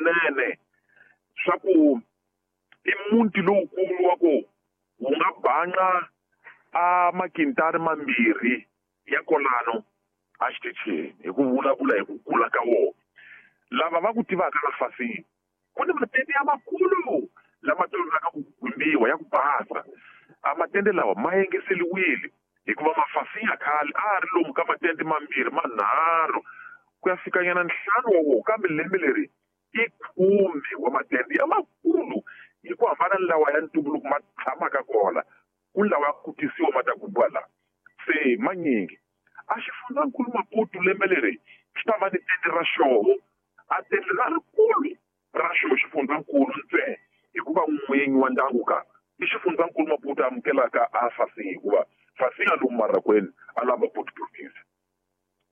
swinene swa ku i muti lowukulu wa ku wu nga banca a makintari mambirhi ya kolano a xitichini hi ku vulavula hi ku kula ka wona. Lava va ku tivaka la fasini ku ni matende ya makulu lama tolovelaka ku gumbiwa ya ku basa. A matende lawa ma yengeseliwile hikuva mafasi ya khale a ri lomu ka matende mambirhi manharhu ku ya fikanyana ntlhanu wa wona, kambe lembe leri i 10 wa matende ya makulu hi ku hambana ni lawa ya ntumbuluko ma tshamaka kona, ku ni lawa ya ku tisiwa ma ta gumbiwa laha se manyingi. A xifundzankulu Maputo lembe leri xi ta va ni tende ra xoho, a tende ra rikulu ra xoho xifundzankulu ntsena, hikuva n'winyi wa ndyangu ka i xifundzankulu Maputo amukelaka a Fasinha, hikuva Fasinha lomu Marracuene a la Maputo province.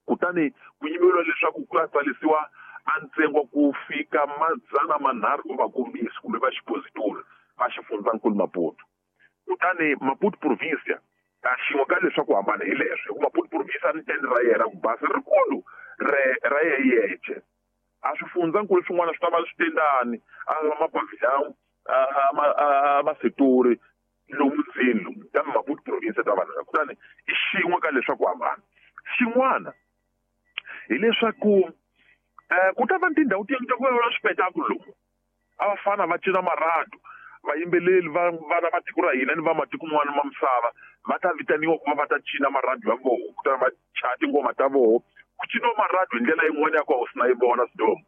Kutani ku yimeriwa leswaku ku ya tsarisiwa a ntsengo ku fika 300 wa vakombisi kumbe va xipositori va xifundzankulu Maputo. Kutani Maputo province a xin'we ka leswaku hambana hi leswo, hikuva Maputo province a ni tende ra yena ku basa rikulu ra yeyeche. A swifundzankulu swin'wana swi ta va swi tendani a mapavillon a masetori lomu ndzeni lomu, kambe Maputo province ta vanhu. Kutani i xin'we ka leswaku hambana. Xin'wana hileswaku ku ta va ni tindhawu tin'wana ta ku va swipetakulo lomu a va fana va cina marhadu, vayimbeleri va vana va tiko ra hina ni va matiko man'wana ma misava va ta vitaniwa ku va va ta cina marhadu ya voho, kutani va chaya tingoma ta voho. Ku ciniwa marhadu hi ndlela yin'wana ya ku a wu si na yi vona Sidomu.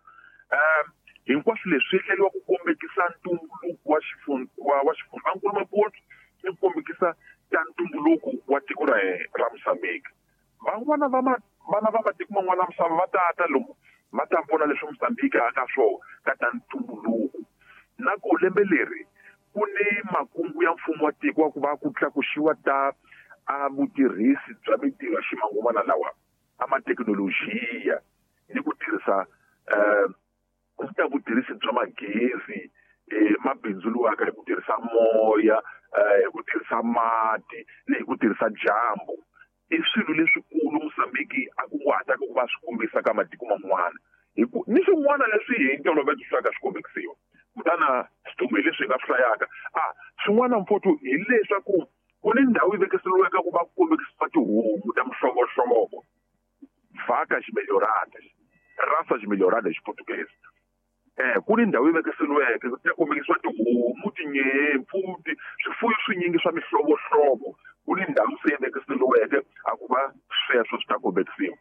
Hinkwaswo leswi swi endleriwa ku kombekisa ntumbuluko wa wa xifundzankulu Maputo ni ku kombekisa ta ntumbuluko wa tiko ra ra Mozambique. Van'wana va vana va matiko man'wana ya misava va ta ta lomu va ta vona leswi Mozambique a ka swona ka ta ntumbuluko. Na ku lembe leri ku ni makungu ya mfumo wa tiko wa ku va ku tlakusiwa ta a vutirhisi bya mintirho ya ximanguva lawa a mathekinolojiya ni ku tirhisa ta vutirhisi bya magezi, mabindzu luwaka hi ku tirhisa moya, hi ku tirhisa mati ni hi ku tirhisa dyambu. I swilo leswikulu Mozambique a kunguhataka ku va swi kombisa ka matiko man'wana, hi ku ni swin'wana leswi hi ntolovelo swi ka swi kombekisiwa. Kutani Sidomu hi leswi hi nga swi hlayaka. Swin'wana mfowethu hileswaku ku ni ndhawu yi vekiseriweke ku va ku kombekisiwa tihomu ta mihlovohlovo, vacas melhoradas, raças melhoradas hi Xiportuguese. Ku ni ndhawu yi vekiseriweke ku ta kombekisiwa tihomu, tinyimpfu, swifuwo swinyingi swa mihlovohlovo. Ku ni ndhawu se yi vekiseriweke a ku va sweswo swi ta kombekisiwa.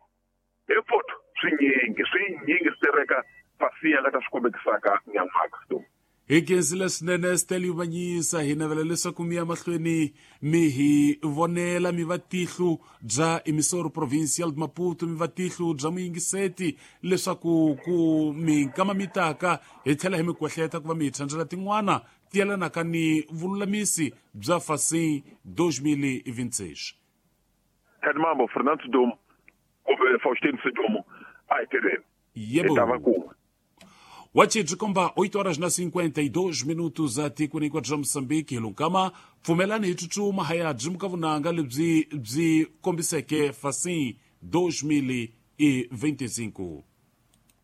Hi mfowethu swinyingi swi tereka Fasinha nga ta swi kombekisaka nyan'waka Sidomu. Hi khensile swinene Stelio Vanyisa, hi navela leswaku mi ya mahlweni mi hi vonela mi va tihlo bya Emissora Provincial de Maputo, mi va tihlo bya muyingiseti leswaku ku minkama mi taka hi tlhela hi mi kwehleta ku va mi hi thandzela tin'wana ti yelanaka ni vululamisi bya Fasin 2026. Khadimambo Fernando Sidomu kumbe Faustin Sidomu a hi tirheni. Yebo. Hi ta va kun'we. Wachidzi komba 8 horas na 52 minutos a tikweni hinkwaro bya Mozambique. Hi lunkama pfumelani hi tsutsuma haya byi muka vunanga lebyi byi kombiseke Fasin 2025.